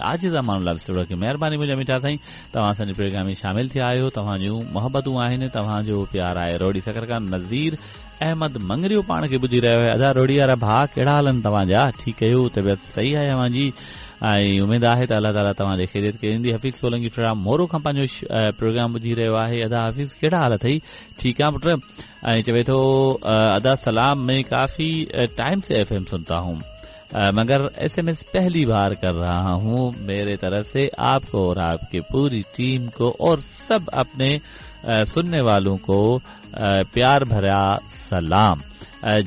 عاجز امان الله وسطڙو کي مهرباني منهنجا مٺا سائين توهان اسان جي پروگرام ۾ شامل ٿيا آهيو توهان جون محبتون آهن توهان جو پيار آهي روهڙي سکر کان نذير احمد مڱريو پاڻ کي ٻڌي رهيو آهي ادا روهڙي وارا ڀاء ڪهڙا حال آهن توهان جا ٺيڪ آهيو طبيعت صحيح آهي اوهان جي ۽ اميد آهي ته الله تعالي توهان جي خيريت ڪندي حفيظ سولنگي فرام مورو کان پنهنجو پروگرام ٻڌي رهيو آهي ادا حفيظ ڪهڙا حال اٿئي ٺيڪ آ پٽ ۽ چوي ٿو ادا سلام مين ڪافي ٽائيم سي ايف ايم سنتا هون مگر ايس ايم ايس پهلي بار ڪر رها هون ميري طرف سي آپ ڪو اور آپ ڪي پوري ٽيم ڪو اور سب اپني سنني والون ڪو پيار ڀريا سلام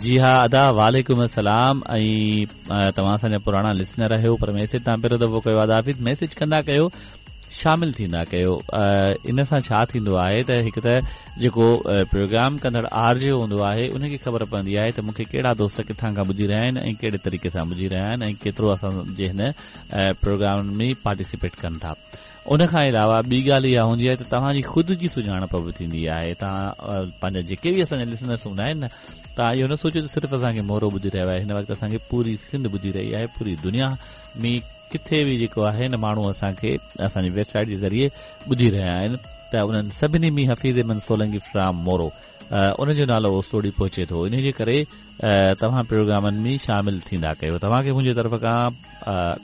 جي ها ادا وعليڪم السلام ۽ توهان اسان جا پراڻا لسنر آهيو پر ميسيج توهان پهريون دفعو ڪيو ادا حفيظ ميسيج ڪندا ڪيو شامل ٿيندا ڪيو ان سان ڇا ٿيندو آهي ته هڪ ته جيڪو پروگرام ڪندڙ آر جي هوندو آهي ان کي خبر پوندي آهي ته مون کي ڪهڙا دوست ڪٿان کان ٻڌي رهيا آهن ۽ ڪهڙي طريقي سان ٻڌي رهيا آهن ۽ ڪيترو اسان جي هن پروگرام ۾ پارٽيسپيٽ ڪن ٿا ان کان علاوه ٻي ڳالهه اها هوندي آهي ته توهان جي خود جي سڃاڻپ به ٿيندي آهي توهان پنهنجا جيڪي به اسان جا لسنرس هوندا آهن نه توهان اهو نه سوچيو ته صرف اسان کي مورو ٻڌي رهيو آهي هن وقت اسان کي پوري سنڌ ٻڌي رهي آهي پوري دنيا ۾ ڪٿي به جيڪو آهي نه ماڻهو اسان کي اسان جي ويب سائيٽ جي ذريعي ٻڌي رهيا آهن ته انهن سڀني ۾ حفيظ احمد سولنگي فرام مورو ان جو نالو اوستوڙي پهچي ٿو انهي جي ڪري توهان پروگرامن ۾ شامل ٿيندا ڪيو توهان کي منهنجي طرف کان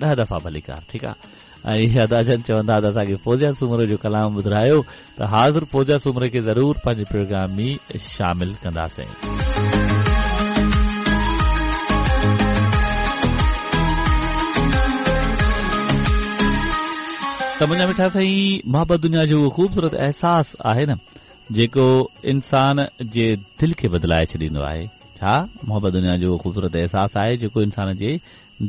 10 دفعا ڀليڪار ٺيڪ آهي ۽ ادا جن چوندا ته اسان کي فوزيا سومرو جو ڪلام ٻڌرايو ته حاضر فوزيا سومري کي ضرور پنهنجي پروگرام ۾ شامل ڪنداسين. ته منهنجا مٺا سائين محبت دنيا جو اهو خوبصورت احساس آهي نه جيڪو انسان جي دل کي بدلائي ڇڏيندو آهي ڇا محبت دنيا جو اهو خوبصورت احساس آهي جيڪو انسان جي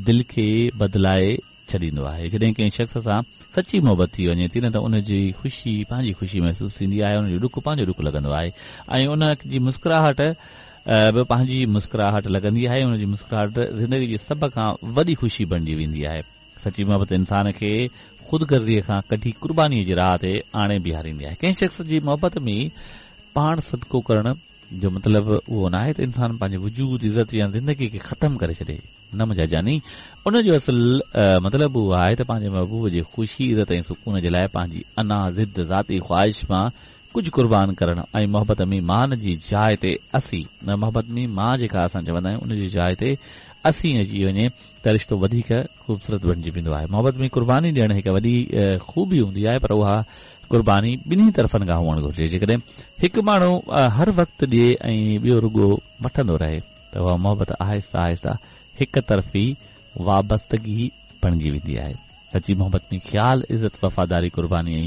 دل کي بدلائي ڇڏيندو آهي. جڏهن ڪنهن شخص سان سچي محبت ٿي وڃي ٿي نه ته ان جي خوشي پنهنجي خوشي محسوس ٿيندي آهي، ان جو ڏک پنهنجو ڏک لڳندو آهي ۽ ان جي مسڪراهٽ به پنهنجي مسڪراهٽ لڳندي آهي، ان جي مسڪراهٽ زندگي جي سڀ کان وڏي خوشي بڻجي ويندي آهي. سچي محبت انسان کي خود غرضيء کان ڪڍي قربانيء جي راهه تي آڻي بيهاريندي آهي. ڪنهن شخص جي محبت ۾ پاڻ صدقو ڪرڻ جو مطلب اهو ناهي ته انسان پنهنجي وجود، عزت يا زندگي کي ختم ڪري ڇڏي. نه منهنجا جاني، ان جو اصل مطلب اهو آهي ته پنهنجي محبوب جي خوشي، عزت ۽ سڪون جي لاء پنهنجي انا، ضد، ذاتي خواهش مان ڪجهه قربان ڪرڻ ۽ محبت ۾ مان جي جاء تي اسين، محبت ۾ مان جيڪا اسان چوندا آهيون ان جي جاء تي اسين اچي وڃي ته رشتو وڌيڪ خوبصورت بڻجي ويندو آهي. محبت ۾ قرباني ڏيڻ هڪ وڏي خوبي هوندي آهي پر اها قرباني ٻنهي طرفن کان هئڻ گهرجي. جيڪڏهن هڪ ماڻهو هر وقت ڏئي ۽ ٻيو رڳو وٺندو رهي ته اها محبت آهستي آهستي هڪ طرفي وابستگي بڻجي ويندي آهي. سچي محبت ۾ خيال، عزت، وفاداري، قرباني ۽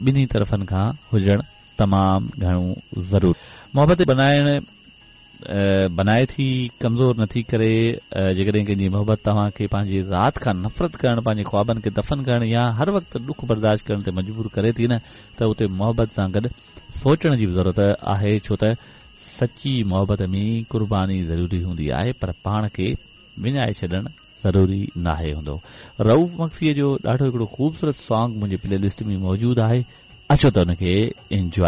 ٻنهي طرفن کان هجڻ تمام گهڻو ضروري. محبت بنائڻ بنائي ٿي، ڪمزور نٿي ڪري. جيڪڏهن ڪنهن جي محبت توهان کي پنهنجي ذات کان نفرت ڪرڻ، پنهنجي خوابن کي دفن ڪرڻ يا هر وقت ڏک برداشت ڪرڻ تي مجبور ڪري ٿي نه ته اتي محبت سان گڏ سوچڻ جي به ضرورت آهي ڇو ته سچي محبت ۾ قرباني ضروري هوندي آهي پر پاڻ کي وڃائي ڇڏڻ ضروري ناهي هوندو. رئوف مگسيء جو ڏاڍو هڪڙو خوبصورت سانگ منهنجي پلي لسٽ ۾ موجود آهي اچو ته ان کي انجواء.